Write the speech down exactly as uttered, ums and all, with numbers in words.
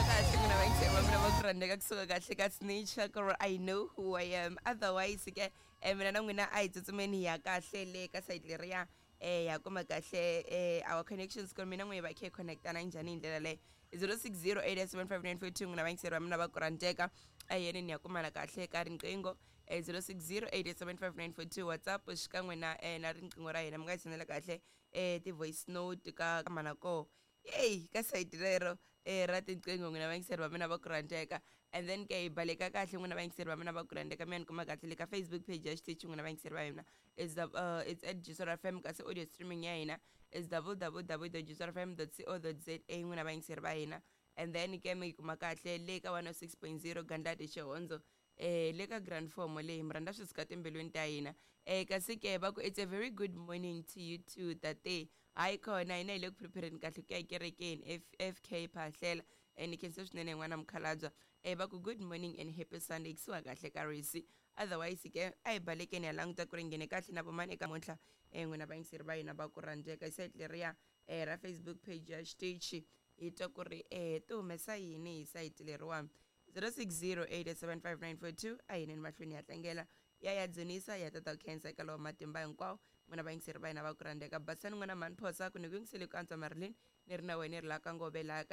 Kahle n'wina vayingiseri va mina va ku rhandzeka kusuka kahle ka Snitch ku ri I know who I am. Otherwise ke eh, mina na n'wina a hi tsutsumeni hi ya kahle le ka side leriya, eh ya kuma kahle eh our connections ku ri mina n'we hi va khe hi connectana njhani hi ndlela leyo zero six zero eight seven five nine four two. N'wina vayingiseri va mina va ku rhandzeka, a yeni ni ya kumana kahle ka riqingho eh zero six zero eight seven five nine four two, WhatsApp xikan'we na eh na riqingho ra hina. Mi nga hi sendela kahle eh ti-voice note ka ka mana koho yeyi ka sayiti rero eh ra tinqingho, n'wina vayingiseri va mina va ku rhandzeka. And then ke hi baleka kahle, n'wina vayingiseri va mina va ku rhandzeka. Mi ya ni kuma kahle le ka Facebook page ya xitichi, n'wina vayingiseri va hina, is the uh, it's at Juice F M, kasi audio streaming ya hina is w w w dot juice f m dot co dot za, n'wina vayingiseri va hina. And then ke mi yi kuma kahle le ka one oh six point zero Gandlati Xihondzo, eh le ka Grand Form leyi mi rhandza swi suka timbilwini ta hina. eh kasi ke va ku it's a very good morning to you too, tate. Hayi khona, hina hi le ku prepareni kahle ku ya ekerekeni. F FK Phahlela, eh ni khensa swinene n'wana mukhalabya. eh va ku good morning and happy Sunday kusuka kahle ka risi. Otherwise ke a hi balekeni ya languta ku ri nghene kahle na vomani eka muntlha, eh n'wina vayingiseri va hina va ku rhandzeka, site leriya eh ra Facebook page ya xitichi, hi twa ku ri eh ti humesa yini hi sayiti leriwani zero six zero eight seven five nine four two. A hi neni mahlweni ya tlangela ya ya dzunisa ya tata khensa eka lowa matimba hinkwawo, n'wina vayingiseri va hina va ku rhandzeka. Basani n'wana mhani Phosa ku ni ku yingisele ku antswa. Marilyn ni ri na wena, ni ri la ka Ngove laha ka.